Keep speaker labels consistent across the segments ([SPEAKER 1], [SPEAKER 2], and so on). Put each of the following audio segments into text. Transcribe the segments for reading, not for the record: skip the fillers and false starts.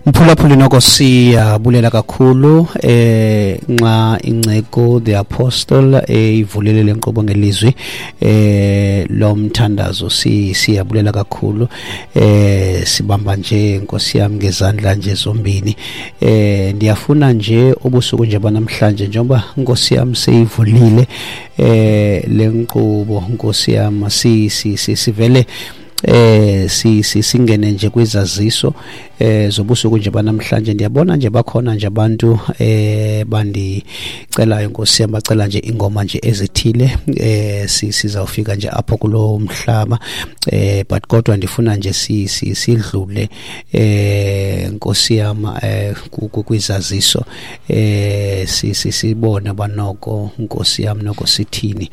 [SPEAKER 1] Mphulaphuli, noko siyabulela kakhulu nxa inceko the apostle ivulele le nkqubo ngelizwi lomthandazo. Siyabulela kakhulu, sibamba nje, Nkosi yami, ngezandla nje zombini. Ndiyafuna nje ubusuku nje banamhlanje, njengoba, Nkosi yami, seyivulile le nkqubo, Nkosi yami, si si sivele si singene nje kwizaziso zobusuku nje banamhlanje. Ndiyabona nje bakhona nje abantu bandicelayo, Nkosi yami, bacela nje ingoma nje ezithile. Sizawufika nje apho kulo mhlaba, but kodwa ndifuna nje sidlule, Nkosi yami, kwizaziso, sibone banoko, Nkosi yami, noko sithini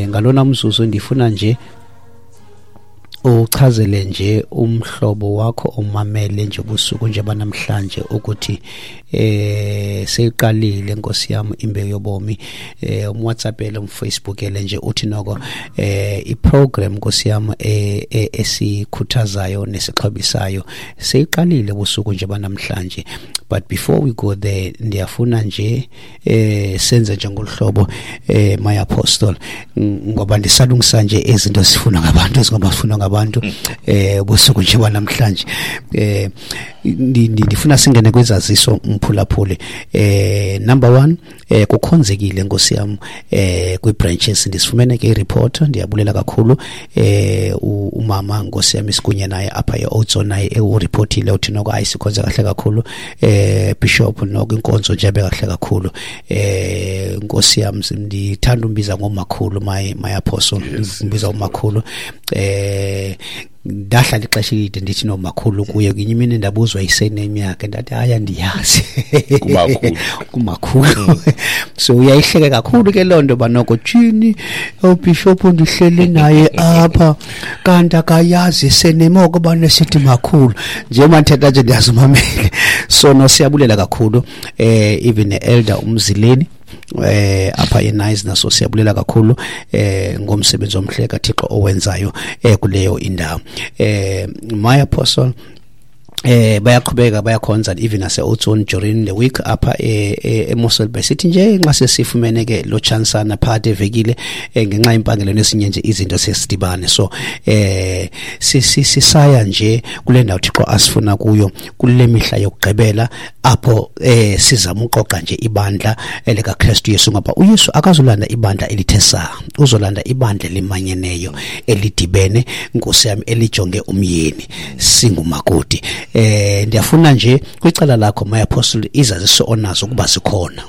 [SPEAKER 1] ngalona mzuzu. Ndifuna nje uchazele nje umhlobo wakho omamele nje ubusuku nje banamhlanje ukuthi seyiqalile, Nkosi yami, Imbewu Yobomi. UmWhatsAppele, umFacebookele nje, uthi noko iprogram, Nkosi yami, esikhuthazayo nesixhobisayo seyiqalile ubusuku nje banamhlanje. But before we go there, ndiyafuna nje senze nje ngoluhlobo, my apostle, ngoba ndisalungisa nje izinto zifuna ngabantu, ezingoba zifuna ngabantu ubusuku nje banamhlanje. Ndifuna singene kwizaziso, mphulaphuli. Number 1, kukhonzekile, Nkosi yami, kwi-branches. Ndisifumene ke i-report, ndiyabulela kakhulu. Umama, Nkosi yami, sikunye naye apha e-Oudtshoorn, naye ureportile, uthi noko hayi, sikhonze kahle kakhulu, bishop, noko inkonzo nje kahle kakhulu. Nkosi yami, ndithanda umbiza ngomakhulu, my apostle, ndimbiza umakhulu. Ndahlala ixesha elide ndithi nomakhulu kuye. Ngenye imini ndabuzwa isename yakhe, ndathi hayi, andiyazi.
[SPEAKER 2] Kumakhulu.
[SPEAKER 1] Kumakhulu. So uyayihleke kakhulu ke loo nto, banoko tshini ubishop ndihleli naye apha kanti akayazi isename oko banesithi makhulu. Njengoba ndithetha nje ndiyazimamele. So no, siyabulela kakhulu, even ne-elder Umzileni apha eNice naso siyabulela kakhulu ngomsebenzi omhle kaThixo owenzayo kuleyo indawo. My apostle, bayaqhubeka bayakhonza even nase Oudtshoorn during the week apha eMossel Bay. Sithi nje nxa sesifumene ke lo chansana phakathi evekile, ngenxa yempangelo nesinye nje izinto, sesidibane. So sisaya nje kule ndawo Thixo asifuna kuyo kule mihla yokugqibela, apho sizama uqoqa nje ibandla likaKristu Yesu, ngoba uYesu akazolanda ibandla elithe saa, uzolanda ibandla elimanyeneyo, elidibene, Nkosi yami, elijonge umyeni, singumakoti. Ndiyafuna nje kwicala lakho, my apostle, izaziso onazo kuba zikhona.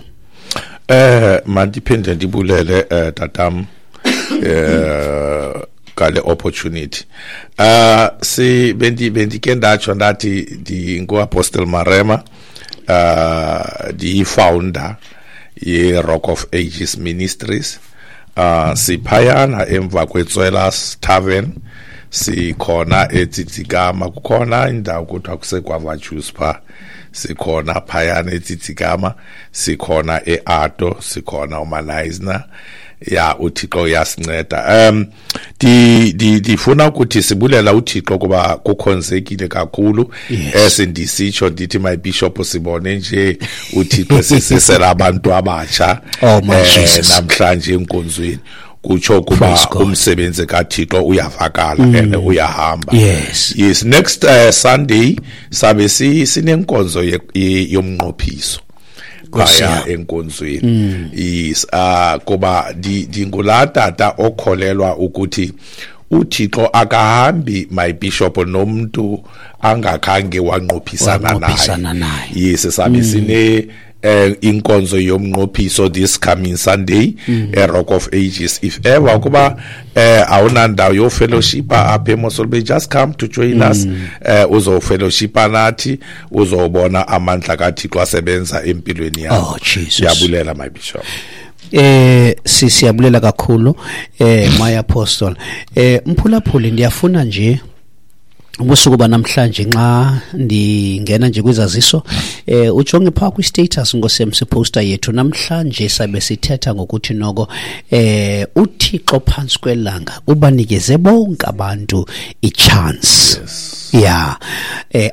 [SPEAKER 2] Mandiphinde ndibulele, tatam, ngale opportunity. Si bendi bendike ndatsho ndathi ndingu-Apostle Marema, ndiyi-founder ye-Rock of Ages Ministries. Siphayana emva kweTswelas Tavern, sikhona eTsitsikama, kukhona indawo kuthiwa kuseGuava Juice pha, sikhona phayana eTsitsikama, sikhona eAto, sikhona uManaisna. Ya, uThixo uyasinceda. Ndifuna ukuthi sibulela uThixo kuba kukhonzekile kakhulu. Esindisitsho ndithi, my bishop, sibone nje uThixo sisisela abantu abatsha
[SPEAKER 1] Oh, my Jesus.
[SPEAKER 2] namhlanje enkonzweni, kutsho kuba
[SPEAKER 1] Praise God.
[SPEAKER 2] umsebenzi kaThixo uyavakala and uyahamba. Yes, next Sunday sabe sinenkonzo yomnqophiso
[SPEAKER 1] Nkosi
[SPEAKER 2] phaya
[SPEAKER 1] yami.
[SPEAKER 2] Enkonzweni. Yes, kuba ndingulaa tata okholelwa ukuthi uThixo akahambi, my bishop, nomuntu angakhange wanqophisana
[SPEAKER 1] Wanqophisana
[SPEAKER 2] naye.
[SPEAKER 1] Naye.
[SPEAKER 2] Yes, sabe sine inkonzo yomnqophiso this coming Sunday e Rock of Ages. If ever kuba awunandawo yo fellowship apha eMossel Bay, just come to join us, uzo fellowship nathi, uzobona amandla kaThixo asebenza empilweni yakho.
[SPEAKER 1] Oh, Jesus.
[SPEAKER 2] Siyabulela, my bishop.
[SPEAKER 1] Siyabulela kakhulu, my apostle. Mphulaphuli, ndiyafuna nje ubusuku banamhlanje nxa ndingena nje kwizaziso, Ujonge phaa kwi-status ngosemsi poster yethu namhlanje, sabe sithetha ngokuthi noko uThixo phantsi kwelanga ubanikeze bonke abantu i-chance. Yeah,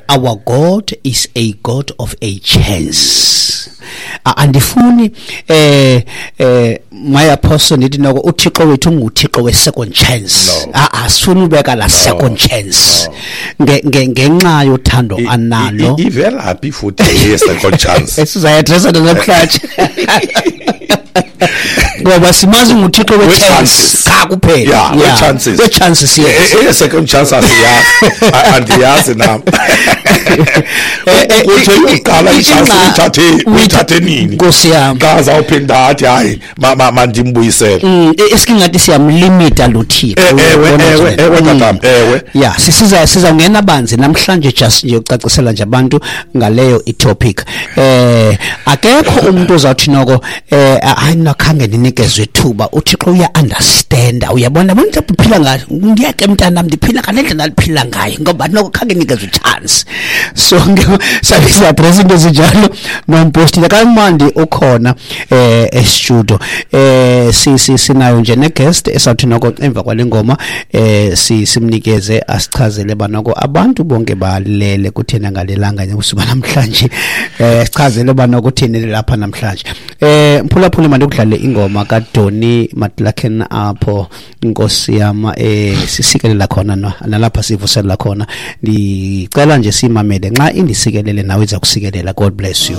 [SPEAKER 1] our God is a God of a chance. Andifuni my apostle ndithi noko uThixo wethu unguThixo we-second chance.
[SPEAKER 2] No.
[SPEAKER 1] Asifuni ubeka la second chance ngenxa yothando analo.
[SPEAKER 2] Ivelaphi futhi ye-second chance?
[SPEAKER 1] Esizayi-addressa namhlanje, ngoba simazi nguThixo we-chance qha kuphela.
[SPEAKER 2] Yeah, we-chances.
[SPEAKER 1] We-chances, yes.
[SPEAKER 2] Eye-second chance asiyazi, andiyazi nam. Uthe yokuqala i-chance uyithathe nini?
[SPEAKER 1] Nkosi yam.
[SPEAKER 2] Xa zawuphinda athi hayi, mandimbuyisele.
[SPEAKER 1] Esikingathi siyamlimita lo Thixo.
[SPEAKER 2] Ewe,
[SPEAKER 1] Uyabona
[SPEAKER 2] ewe,
[SPEAKER 1] nje?
[SPEAKER 2] Ewe, tatam, ewe.
[SPEAKER 1] Yeah, sizawungena banzi namhlanje, just nje ucacisela nje abantu ngaleyo i-topic. Akekho umuntu ozawuthi noko hayi nakhange ndinikezwe ithuba. uThixo uya understand. Uyabona abantu uphila ngayo. Ngiyeke mntanam, ndiphila ngale ndlela ndiphila ngayo ngoba noko khange nikezwe chance. So sabe si-address into ezinjalo nompostile kamandi ukhona e-studio. Sinayo nje ne-guest esawuthi noko emva kwale ngoma simnikeze asichazele banoko abantu bonke balele kuthena ngalelanga nje namhlanje, sichazele banoko uthini lapha namhlanje. Mphulaphuli, mandikudlale ingoma kaDonny McLaughlin apho Nkosi yam sisikelela khona nalapha sivuselela khona. Ndicela nje simamele, nxa indisikelele nawe iza kusikelela. God bless you.